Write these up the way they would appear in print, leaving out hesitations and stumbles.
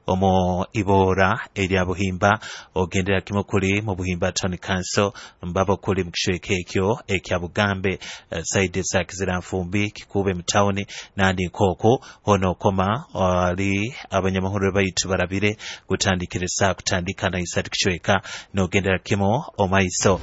Omu ibora erya Buhimba, ogendera kimu kuli mu Buhimba Town Council, mbabo kuli mu kicweka ekyo ekya Bugambe, saidi za Kiziranfumbi, Kikuube mu tawuni nandi nkooku hoona okoma ali abanyamahurire baitu barabire gutandikire saa kutandika na isatu kicweka n'ogendera kimu omaiso.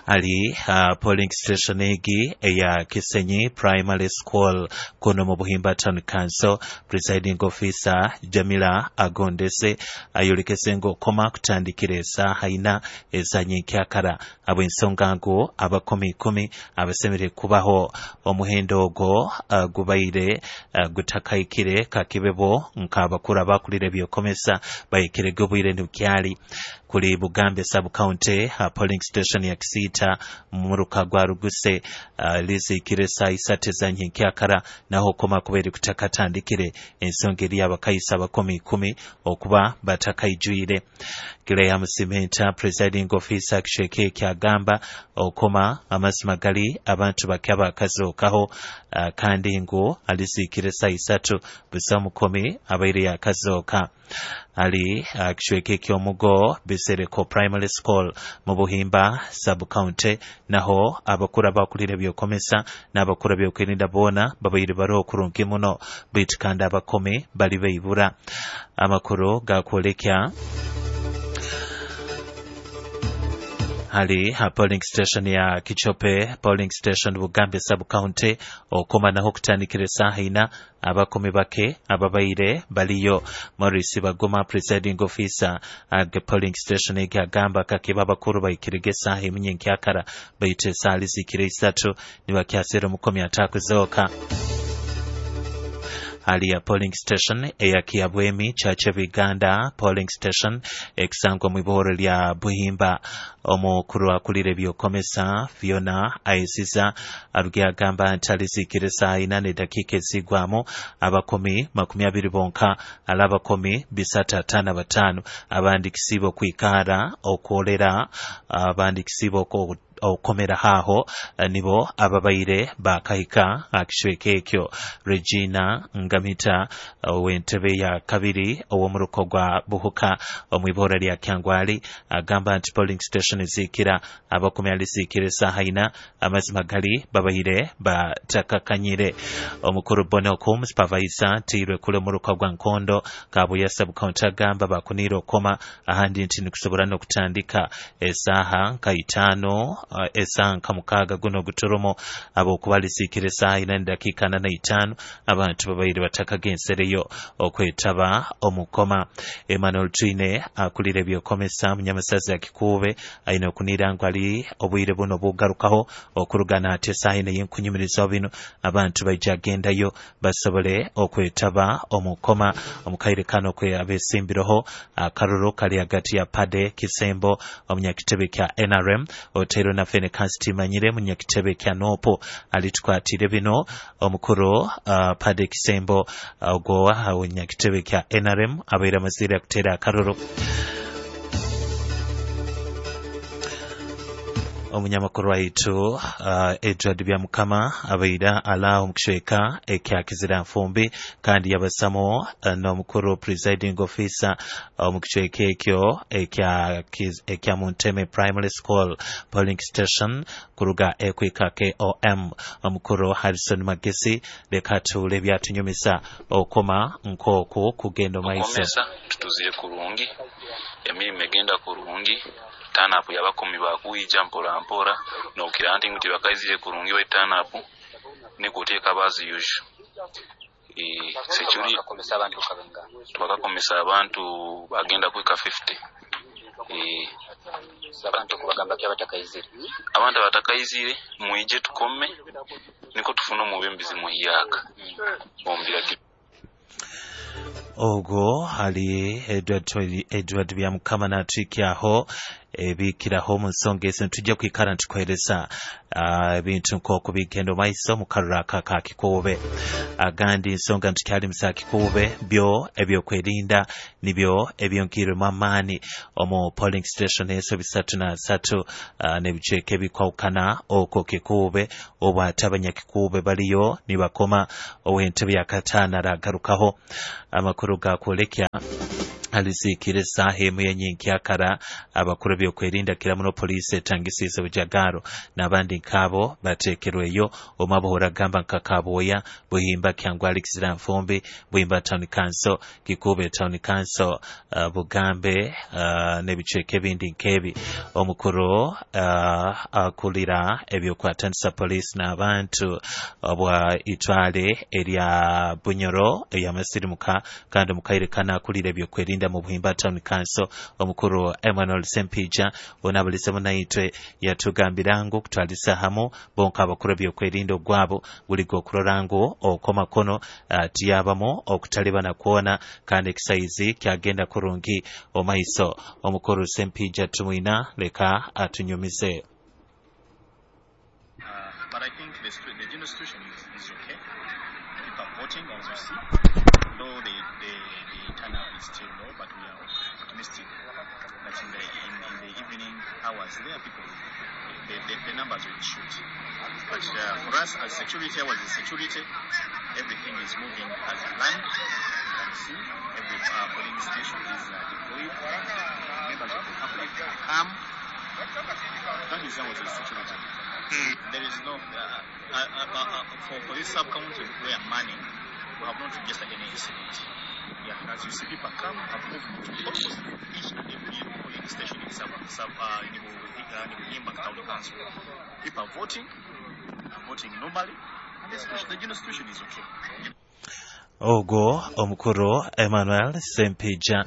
Ali polling station egi eya Kisenyi Primary School kuno mu Buhimba Town Council, presiding officer Jamila Agondese ayolekese ng'okoma kutandikira esaaha ina ezanyenkyakara habw'ensonga ngu abakomi ikumi abasemere kubaho omuhendo ogwo gubaire gutakaikire kakibebo nk'abakuru abakulira ebyokomesa bahikirege obwire nibukyali. Kuli Bugambe sub county, polling station ya Kisiita mu muruka gwa Ruguse, lizikire saa isatu ezanyenkyakara naho okoma kubaire kutakatandikire ensonga eri abakaisa abakomi ikumi okuba batakaijwire. Graham Simenta, presiding officer kicweka ekyagamba okoma amazima gali abantu bake abakazookaho, kandi ngu alizikire saa isatu busa omukomi abaire yakazooka. Ali kicweka ekyomugo Bisereko Primary School mu Buhimba sub county naho abakuru abakulira ebyokomesa n'abakuru ebyokwerinda boona babaire bari kurungi muno, baitu kandi abakomi bali baibura. Amakuru gakwolekya hali ha polling station ya Kichope polling station Bugambe sub county okoma naho kutandikira esaaha ina abakomi bake ababaire baliyo. Maurice Baguma, presiding officer at polling station egi, agamba kakeba abakuru bahikirege esaaha emu nyenkyakara, baitu esaaha lizikire isatu nibakyasera omukomi atakuzooka. Hali ya polling station eya Kiabwemi Church of Uganda polling station ekusangwa mu iboro lya Buhimba, omukuru akulira ebyokomesa Fiona Aisiza aruge agamba nti alizikire saa ina n'edakiika ezigwamu abakomi 20 bonka, ala abakomi 355 abandikisiibwe okwikara okwolera abandikisiibwe okomera haho nibo ababaire bakahika akicweka ekyo. Regina Ngamita ow'entebe ya kabiri ow'omuruko gwa Buhuka omwibora lya Kyangwali agamba nti polling station ezikira abakomi alizikira esaaha ina amazima gali babaire batakakanyire. Omukuru Bonokum supervisor tiirwe kule omuruka gwa Nkondo Kabuya sub county agamba bakunire okoma ahandi nti nikusobora n'okutandika esaaha nka itaano, esaaha nka mukaaga guno guturumu abokuba lisiikire esaaha ina nedakiika 45 abantu babaire batakagensereyo okwetaba omukoma. Emmanuel Twine akulira ebyokomesa munyamasazi ya Kikuube aine okunira ngu ali obwire buno bugarukaho okurugana ate esaaha ina y'enkunyumirizaho bino abantu baija gendayo basobole okwetaba omukoma. Omukaire kano kwe abesimbireho akaruru kali hagati ya Pade Kisembo omunyakitebe kya NRM oteirwe na Fene Kansitimanyire munyakitebe kya Nopo alitukwatire bino. Omukuru Pade Kisembo ogwo omunyakitebe kya NRM abaire amazire akutera akaruru. Omunyamakuru waitu Edward Byamukama abaire alaaho mu kicweka ekya Kiziranfumbi kandi yabasamo n'omukuru presiding officer omu kicweka ekyo ekya Munteme Primary School polling station kuruga ekwika KOM omukuru Harrison Magesi. Leka tuule ebyatunyumisa okoma nk'oku kugenda omaiso. Okomesa tutuzire kurungi, emirimu egenda kurungi, turn-up yabakomi bakwija mpora mpora nokira nti ngu tibakaizire kurungi baitu turn-up nikuteeka as usual. Security Bakakomesa abantu kabenga? Twakakomesa abantu bagenda kwika 50. Abantu kubagamba ki abatakaizire? Abantu abatakaizire mwije tukome niko tufune omubembizi muhyaka omu biragiro. Ogwo ali Edward Byamukama natwikyaho. Ebikiraho omu nsonga ezi nitujja kwikara nitukuheereza ebintu nk'oku bigenda omu maiso mu karuru aka ka Kikuube. Agandi nsonga nitukyali mu za Kikuube, byo ebyokwerinda nibyo ebyongiirwemu amaani omu polling station ezo 33 n'ebicweka ebikwahukana okwo Kikuube, obu ate abanyakikuube baliyo nibakoma ow'entebe ya kataano aragarukaho. Amakuru gakwolekya aliziikire esaaha emu y'enyenkyakara. Abakuru ebyokwerinda kira muno poliisi etangisiize bujagaro n'abandi nk'abo bateekerweyo omu abohora agamba nka Kabwoya, Buhimba, Kyangwa, Alexander Nfumbi, Buhimba Town Council, Kikuube Town Council, Bugambe n'ebicweka ebindi nk'ebi. Omukuru akulira ebyokwatanisa poliisi n'abantu obwa itwale erya Bunyoro eyamasirimuka kandi omukaire kana akulira ebyokwerinda mu Buhimba Town Council, omukuru Emmanuel Sempija onabulizemu naitwe yatugambira ngu kutwalisa hamu bonka abakuru ebyokwerinda ogwabo guli gokurora ngu okwamakono tiyabamu okutalibana kwona kandi ekisaizi kyagenda kurungi omaiso. Omukuru Sempija tumwina leka atunyumize. But I think the general situation is okay. People are voting, as you see. Though the turnout is still low, but we are optimistic that in the evening hours there, people, the numbers will shoot. But for us as security, as security, everything is moving as planned. You can see every polling station is deployed. Members of the public come. That is our security. There is no for this sub-county we are manning, we have not registered any incident. Yeah, as you see, people come, have moved to almost each and every polling station in Buhimba Town Council. People are voting normally, and the general situation is okay. Ogwo omukuru Emmanuel Sempija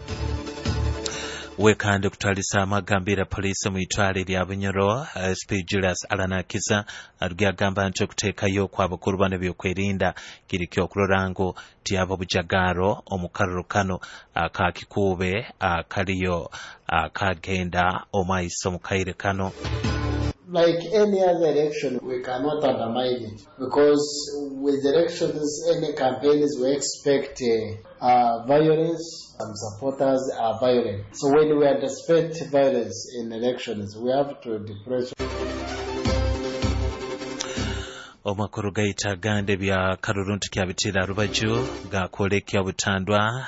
wekande kutwalisa amagambira poliisi mu itwale lya Bunyoro. SP Julius Alanakiza arugi agamba nti okuteekayo kw'abakuru bano ebyokwerinda kiri kyokurora ngu tyaba bujagaro omu karuru kano aka Kikuube akaliyo akagenda omaiso mu kaire kano. Like any other election, we cannot undermine it, because with elections, any campaigns, we expect violence. Some supporters are violent. So when we anticipate violence in elections, we have to depress. Omakuru gaita gande bya karuru ntukyabitira rubaju gakwolekya butandwa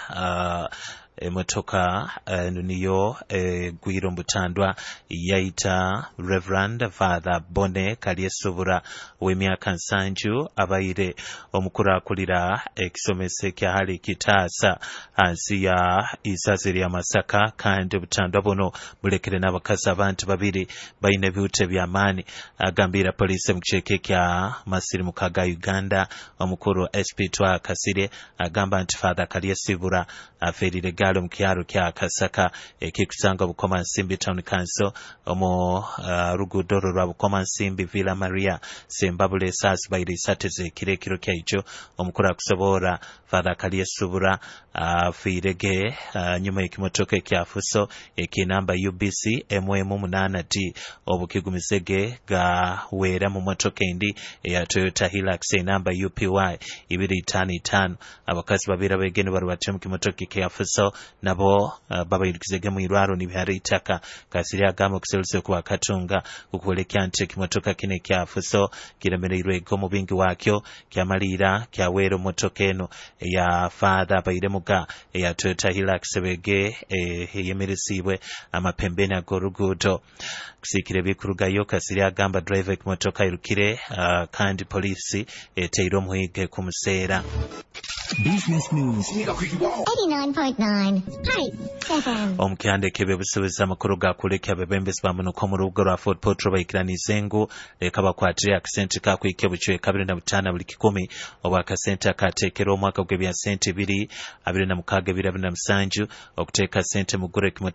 emotoka niyo egwire omubutandwa yaita Reverend Father Bone Kalyesubura w'emyaka 70 abaire omukuru akulira ekisomesa ekyahali Kitaasa hansi ya isazi lya Masaka, kandi obutandwa buno bulekere n'abakazi abantu babiri baine ebihuta eby'amaani. Agambira poliisi mu kicweka ekya masirimuka ga Uganda, omukuru SP Twa Kasire agamba nti Father Kalyesubura afiirire galo mu kyaro kya Kasaka ekikusanga Bukoma Nsimbi Town Council omu ruguudo rwa Bukoma Nsimbi Villa Maria Sembabule esaazi baire isatu ez'ekiro ekiro kyaijo. Omukuru akusoboora Father Kalyesubura afiirege nyuma y'ekimotoka ekyafuso ekinamba UBC MM8D obukigumizege gaweera mu motoka endi eya Toyota Hilux enamba UPY 255. Abakazi babiri abegeni barubate mu kimotoka ekyafuso nabo babairukizege mu irwaro nibihara itaka. Kasiri agamba okuserusa kuba katunga kukwolekya nti ekimotoka kino ekyafuso kiremereirwe mu bingi wakyo kyamaliira kyaweera omotoka eno eya Father Bairemuga eya Toyota Hilux bege eyemeresiibwe amapembeni ag'oruguudo. Kusiikira ebikurugayo, Kasiri agamba driver ekimotoka airukire kandi poliisi eteire omuhige kumuseera. Business News 89.9 Heights FM. Omukyanda ek'ebyobusuubuzi amakuru gakulekya abebembezi bamunuka omu rubuga rwa Fort Portal baikiranize ngu leka bakwatire akasente kakwikya obucweka 25 buli kikumi obwakasente akateekerwa omwaka gw'ebya sente 2026 2027 okuteeka sente mu ggura ekimotoka.